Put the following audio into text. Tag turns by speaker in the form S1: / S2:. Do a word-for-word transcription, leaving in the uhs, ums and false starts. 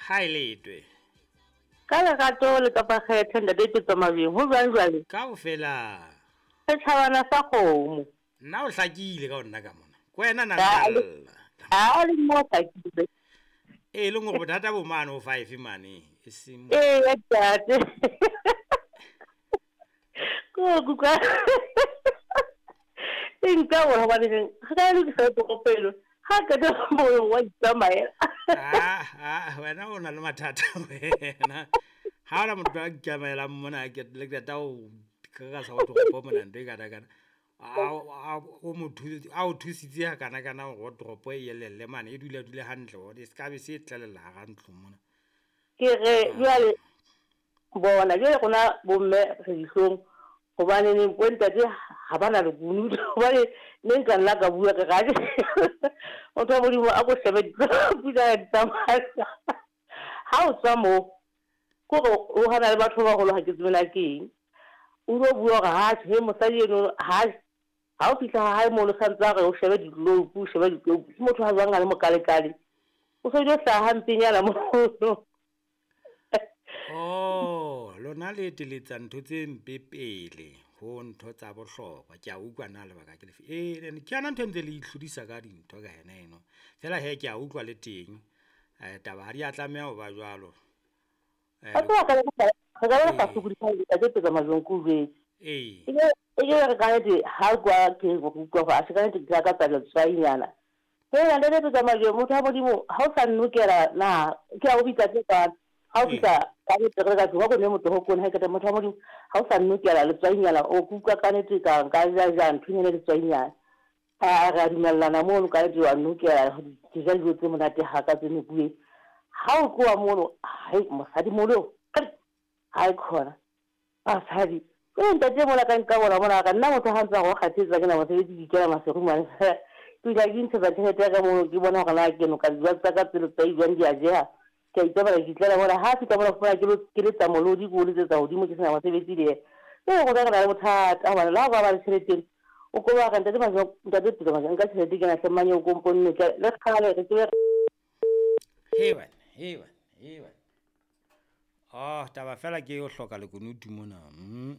S1: Ha e letwe.
S2: Ka lerato le kapa kgethe ntate Petso Mabeng, ho jwang jwale?
S1: Kaofela.
S2: Setjhabana sa kgomo.
S1: Nna o hlakile ka ho nna ka mona. Ke wena nna
S2: Ha
S1: nka
S2: le
S1: lla.
S2: ha le mo hlakile.
S1: E leng hore bothata bo mane ho five mane, e seng
S2: Ee, ntate. Ko kuka. E nka hore hobane re ka lokisa toropo eno. Ha qeta moo wa itsamaela.
S1: Ah, ah, wena o na le mathata wena. Ha hona motho a ikamaelang mona ke le qeta ho kgakasa ho toropo mona ntho e kana kana. A a o mo a o thusitse ha kana kana hore toropo e elelle mane e dule dule hantle hore e ska be se tlelella hara ntlo mona.
S2: Ke re jwale bona jwale rona bomme re dihlong hobane bo ntate ha ba na lekunutu hobane ne nka nna ka bua ke re motho wa Modimo a ko shebe pula di tsamaya. Ha o tswa moo kore o hana le batho ba baholo ha ke tsebe na ke eng. O lo bua hore ha he mosadi eno ha ha o fihla ha hae mono santse a re o shebe di-globe, o shebe di-globe. Ke motho ha jwang a le mokalekale. O so ilo hlaha hampenyana mono.
S1: Oh, lona le eteletsa ntho tse mpe pele ho ntho tsa bohlokwa. Ke a utlwa na lebaka ke lefe. Eh, ke yona ntho e ntse le itlhodisa ka dintho ka yena eno. Feela hee ke a utlwa le teng. Eh, taba ha di a tlameha ho ba jwalo. Eh,
S2: Wa tseba re ka re ka ba
S1: ee,
S2: sokodisa ntate Petso Majweng ke o jwetse.
S1: ee.
S2: E ke e ke re ka nnete ha kwa ke utlwa hore atjhe ka nnete ke lakatsa letswainyana. Hela ntate Petso Majweng motho wa Modimo ha o sa nnokela na ke a o bitsa tse kwano. Ha o
S1: Ee.
S2: fihla ka nnete re ka tlung wa ko nwe motoho ko ha qeta motho wa Modimo ha o sa nnokela letswainyana o ke utlwa ka nnete ka nka ja ja nthonyana letswainyana. A re a dumellana mono ka nnete wa nnokela ke ja dijo tse monate haka tse nokuweng. Ha o tloha mono hai mosadi moholo hai khona basadi ke ntate mona ka nka bona mona ka nna motho ha ntse a go kgathetse ke na mosebetsi ke ikela maseru mane. Ke ile ke ntshetsa tjhelete ya ka mono ke bona hore na ke noka dijo tsa ka tselo tsa jwang di a jeha. Ke a itsamaela ke itlela mona ha fihla mona fumana ke lo ke letsa molodi ke o letsetsa hodimo ke sena mosebetsi le yena. Ke rona re na le bothata hobane le ha o ka ba le tjhelete o ko ba re ntate Majweng ntate Petso Majweng nka tjhelete kena hle mmanyeo ko mponne le kgale re tsebe
S1: He wena, he wena, he wena. Oh, taba fela ke o hloka lekunutu mona. Mm.